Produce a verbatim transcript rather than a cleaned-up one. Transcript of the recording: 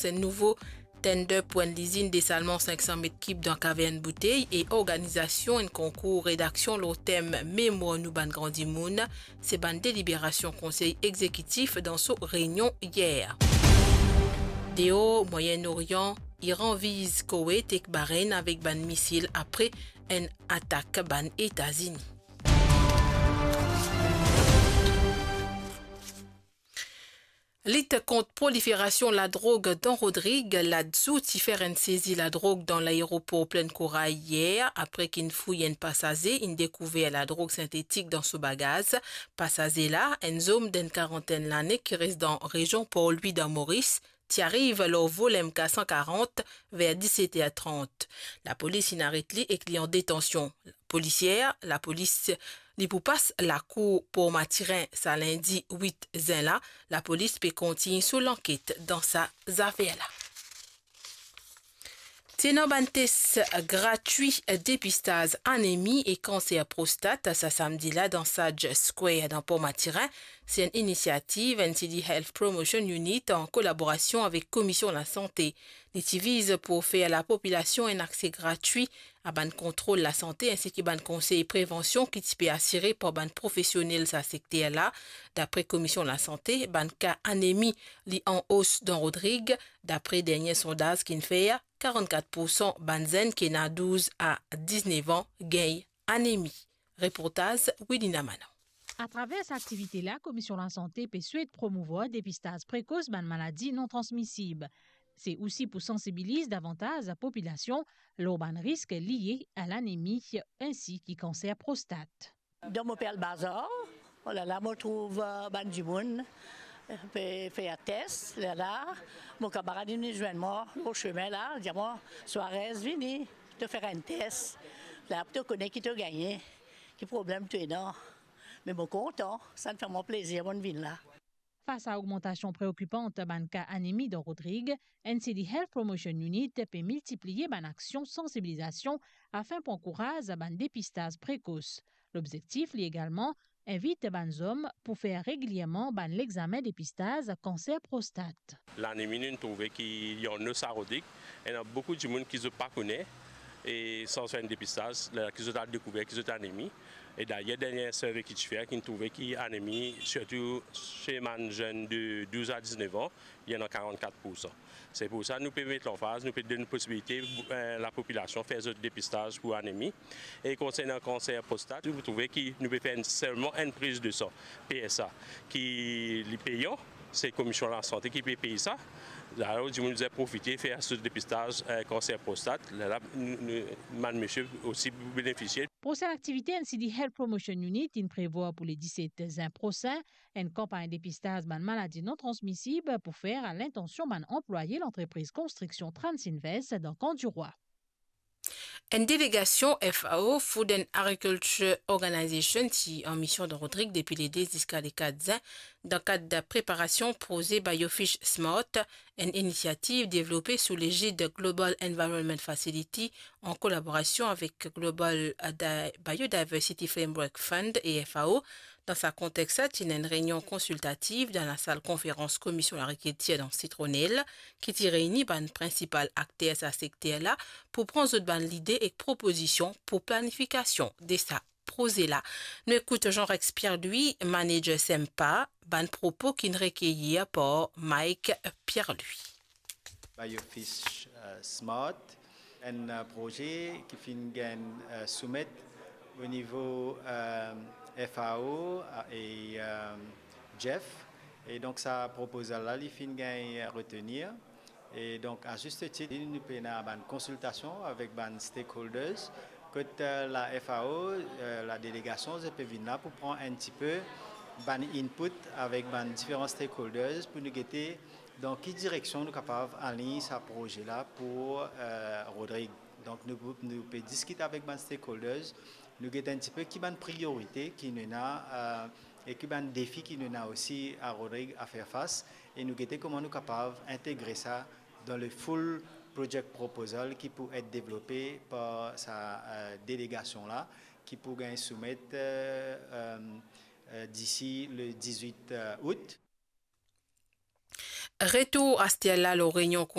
Enn nouvo tender pou enn lizinn desalman sink san met kib dan Kavern Boutey e organizasion enn konkour redaksion lor tem Memwar nou bann gran dimoun, se bann deliberasion Konsey Egzekitif dan so reinion yer. Deor Mwayen Orian, Iran viz Koweït ek Bahreïn avek bann misil apre enn atak bann Etazini. Lit kont proliferasion ladrog dan Rodrig, LADSOU ti fer enn sezi ladrog dan laeropor Plaine Corail yer, apre ki inn fouy enn pasaze, inn dekouver ladrog sintetik dan so bagaz. Pasaze la, enn zom d'enn karantenn lane ki res dan rezion Port Louis dan Moris, ti ariv lor vol M K san karant ver diset er trant. Lapolis inn aret li ek li an detansion polisier. Lapolis, li pou pas lakour Port Mathurin sa lindi wit zin la. Lapolis pe kontign so lanket dan sa zafer la. Ti ena bann tes gratwi depistaz anemi e kanser prostat sa samdi la dan Sage Square dan Port Mathurin. Se enn inisiativ N C D Health Promotion Unit an kolaborasion avek Komision Lasante. Li ti viz pou ofer lapopilasion enn akse gratwi a bann kontrol lasante ensi ki bann konsey prevansion ki ti pe asire par bann profesionel sa sekter la. Dapre Komision Lasante, bann ka anemi li an os dan Rodrig. Dapre dernie sondaz ki'nn fer, karannkat poursan bann zenn ki ena douz a diznef an gagn anemi. Reportaz Wilina Manan. Atraver sa aktivite la, Komision Lasante pe swet promouvwar depistaz prekos bann maladi non transmisib. Se osi pou sansibiliz davantaz lapopilasion lor bann risk lie a lanemi ensi ki kanser prostat. Dan mo pe al bazar, olala, mo trouv, eh, bann dimoun, eh, pe fer tes, lala, mo kamarad inn zwenn mwa lor semin la, dir mwa, "Suarez, vini, to fer enn tes, la pou to kone ki to gagne, ki problem to ena." Me mo kontan, sa fer mwa plezir, mo'nn vinn la. Fas a ogmantasion preokipan bann ka anemi dan Rodrig, N C D Health Promotion Unit pe miltipliye bann aksion sansibilizasion afin pou ankouraz bann depistaz prekos. Lobzektif li egalman invit bann zom pou fer regilierman bann lexamen depistaz kanser prostat. Lanemi, nou trouve ki li an os a Rodrig, ena boukou dimoun ki zot pa kone, e san fer enn depistaz, la ki zot al dekouver ki zot anemi. E dayer, dernie survey ki ti fer, ki'nn trouve ki anemi, sirtou se bann zenn de douz a diznef an, li ena karannkat poursan. Se pou sa nou pe met lanfaz, nou pe donn posibilite, eh, lapopilasion fer zot depistaz pou anemi. E konsernan kanser prostat, nou trouve ki nou pe fer enn, selman enn priz de san, P S A, ki li peyan, se Komision Lasante ki pe pey sa. Alor, dimoun bizin profite fer so depistaz, eh, kanser prostat. La, la, nou, nou, bann misie osi pou benefisie. Prosenn aktivite N C D Health Promotion Unit inn prevwar pou le diset zin prosin, enn kanpagn depistaz bann maladi non transmisib pou fer a lintansion bann anplwaye lantrepriz konstriksion Transinvest dan Kan Dirwa. Enn delegasion F A O, Food and Agriculture Organization, ti an mision dan Rodrig depi le de ziska le kat zin, dan kad preparasion proze Biofish Smart, enn inisiativ devlope sou legid Global Environment Facility an kolaborasion avek Global Di-, Biodiversity Framework Fund e F A O. Dan sa kontex la, ti ena enn reynion konsiltativ dan lasal konferans Komision Lagrikiltir dan Sitronel, ki ti reyni bann prinsipal akter sa sekter la pou pran zot bann lide ek propozision pou planifikasion de sa proze la. Nou ekout Jean-Rex Pierre-Louis, manager Sempa, bann propo ki'nn rekeyir par Mike Pierre-Louis. Biofish, eh, Smart, enn, eh, proze ki finn gagn, eh, soumet o nivo, eh, F A O, eh, e, eh, Jeff. E donk sa proposal la, li finn gagn retenir. E donk, a zis tit, nou pena bann konsiltasion avek bann stakeholders. Kot, eh, la F A O, eh, la delegasion, zot pe vinn la pou pran enn tipe bann input avek bann diferan stakeholders pou nou gete dan ki direksion nou kapav align sa proze la pou, eh, Rodrig. Donk, nou, nou pe diskit avek bann stakeholders, nou gete enn tipe ki bann priorite ki nou ena, eh, e ki bann defi ki nou ena osi a Rodrig a fer fas, e nou gete kouma nou kapav integre sa dan le full project proposal ki pou et devlope par sa, eh, delegasion la, ki pou gagn soumet, eh, eh, eh, disi le dizwit, eh, out. Retour aster la lor reynion